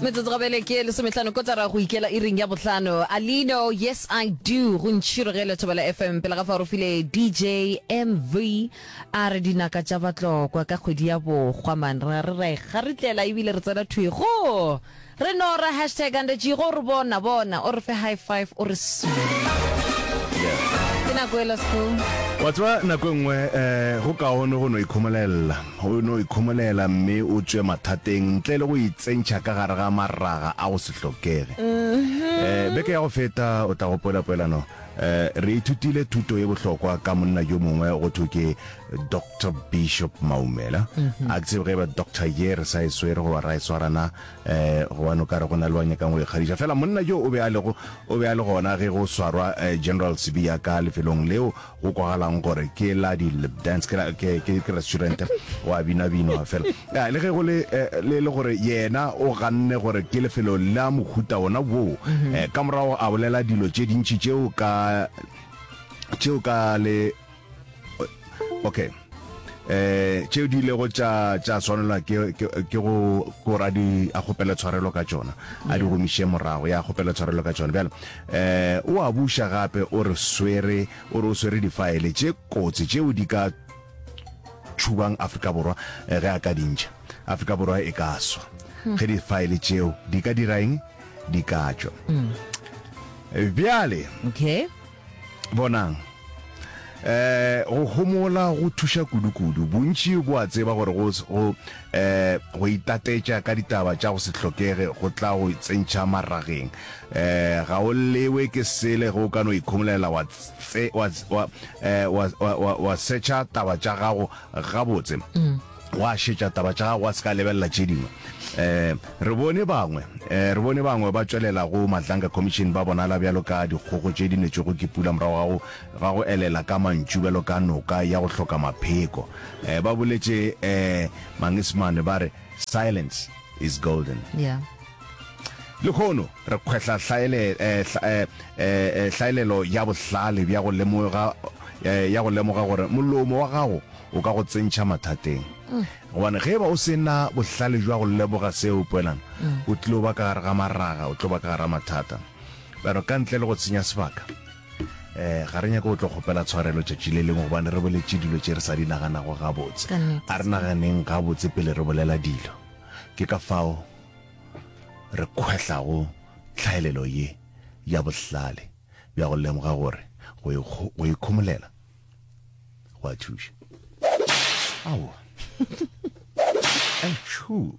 Metsotso gabele ke lesomehlano kotara go ikela iring ya bohlano. Alino, Yes I Do, go ntšhirogele Thobela FM. Pele ga fa re file DJ MV a re dinaka tša batlokwa ka kgwedi ya bokgwa man. Ra re ra e garitlela ebile re tsena thwi go re nora hashtag under G go re bona bona o re fe high five o re su. Ke nako ela school. Wa tseba nako e nngwe um go kaone go no ikhomolelela. O no ikhomolela mme o tšwe mathateng ntle le go itsentšha ka gare ga maraga a go se hlokege. Um beke ya go feta, o tla gopola poelano, um re ithutile thuto ye bohlokwa ka monna yo mongwe go thwe ke Doctor Bishop Maumela. A ke tsebe ge eba Doctor ye re sa e swere goba ra e swara na, um gobane o ka re go na le ba nyakang go ikgadiša. Fela monna yo o be a lego, o be a le gona ge go swarwa General Sibiya ka lefelong leo go kwagalang gore ke la di lip dance ke ke ke ke restaurant go a bina binwa fela ya le ge go le eh, le le gore yena o ganne gore ke lefelo la mohuta wona woo mhm. eh, ka morago a bolela dilo tše dintši tšeo ka tšeo ka le okay eh tšeo di ilego tša tša swanelwa ke ke go go ra di a kgopela tshwarelo ka tšona a di gomiše morago ya kgopela tshwarelo ka tšona bjale eh o a buša gape o re swere o re o swere difaele tše kotsi tšeo di ka tšhubang Afrika Borwa eh, ge a ka di ntšha Afrika Borwa e ka swa hmm. ge difaele tšeo di ka dira eng di ka tšwa hmm. bjale okay Bonang, eh, go homola go thuša kudu-kudu. Bontši bo a tseba gore go, go, eh, go itatetša ka ditaba tša go se hlokege go tla go tsentšha marageng. Eh, ga o lewe ke sele ge o ka no ikhomolela wa tse, wa, wa, eh, wa, wa, wa, wa setšha taba tša gago gabotse. Wa šetša taba tša gago wa se ka lebelela tše dingwe. Um re bone bangwe, um re bone bangwe ba tšwelela go Madlanga Commission ba bonala bjalo ka dikgogo tše di netšwego ke pula morago ga go, ga go elela ka mantšu bjalo ka noka ya go hloka mapheko. Um ba boletše um Mangesemane ba re silence is golden. Yeah. Lehono re kgwehla hlaele, eh, eh, eh, hlaelelo ya bohlale bja go lemoga, eh, ya go lemoga gore molomo wa gago o ka go tsentšha mathateng. Gobane ge e ba o se na bohlale bja go lemoga seo, Poelano, o tlilo ba ka gare ga maraga, o tlo ba ka gare ga mathata. Bjalo ka ntle le go senya sebaka, um ga re nyake go tlo kgopela tshwarelo tšatši le lengwe gobane re boletše dilo tše re sa di naganago gabotse. A re naganeng gabotse pele re bolela dilo. Ke ka fao re kgwehlago tlhaelelo ye ya bohlale bja go lemoga gore go ikhomolela go a thuša. Aowa. Atšhuu.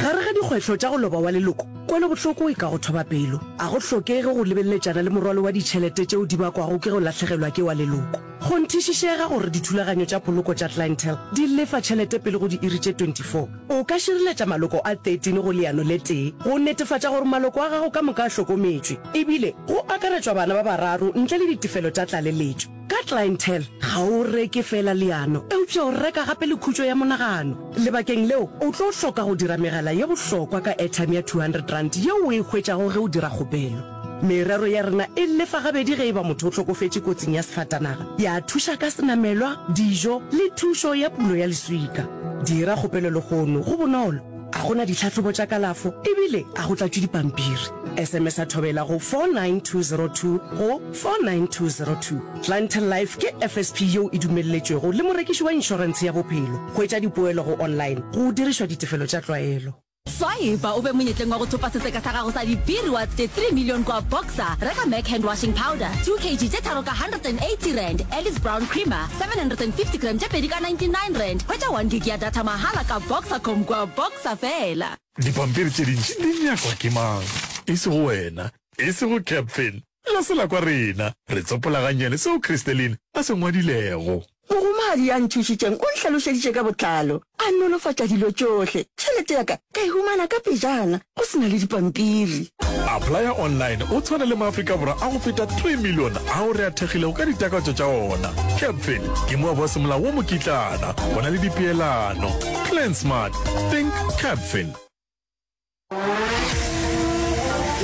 Gare ga dikgwetlho tša go loba wa leloko, kwelobohloko e ka go thoba pelo. A go hlokege go lebeleletšana le morwalo wa ditšhelete tšeo di bakwago ke go lahlegelwa ke wa leloko. Kgonthišišega gore dithulaganyo tša poloko tša Clientele di lefa tšhelete pele go diiri tše 24. O ka šireletša maloko a 13 go leano le tee go netefatša gore maloko a gago ka moka a hlokometšwe, ebile go akaretšwa bana ba bararo ntle le ditefelo tša tlaleletšo. Ka Clientele, ga o reke feela leano, eupša o reka gape le khutšo ya monagano. Lebakeng leo, o tlo hloka go dira megala ye bohlokwa ka airtime ya R200 yeo o e hwetšago ge o dira kgopelo. Merero ya rena e lefa gabedi ge e ba motho o hlokofetše kotsing ya sefatanaga, ya thuša ka senamelwa, dijo le thušo ya pulo ya leswika. Dira kgopelo lehono, go bonolo, ga go na ditlhahlobo tša kalafo ebile ga go tlatšwe dipampiri. SMS-a Thobela go 49202 go 49202. Clientele Life ke FSP yeo e dumelletšwego le morekiši wa inšorentshe ya bophelo. Hwetša dipoelo go online go dirišwa ditefelo tša tlwaelo. Swipa o be monyetleng wa go thopa setseka sa gago sa di-B-Rewards tše 3 million kwa Boxer. Reka Mac hand washing powder 2 kg tše tharo ka R180, Alice Brown creamer 750 gram tše pedi ka R99. Hwetša 1 gig ya data mahala ka Boxercom kwa Boxer fela. Dipampiri tše dintši di nyakwa ke mang? E sego wena, e sego Capfin, Ga se la kwa rena. Re tsopola gannyane seo Christeline a se ngwadilego. Mogomadi ya nthušitšeng o nhlalošeditše ka botlalo, a nolofatša dilo tšohle. Tšhelete ya ka ka e humana ka pejana, go se na le dipampiri. Applya online o tshwane le maAfrika Borwa a go feta 3 milione ao re a thekgilego ka ditakatšo tša ona. Capfin ke moabi wa semolao wo mokitlana, go na le dipeelano. Plan smart, think Capfin.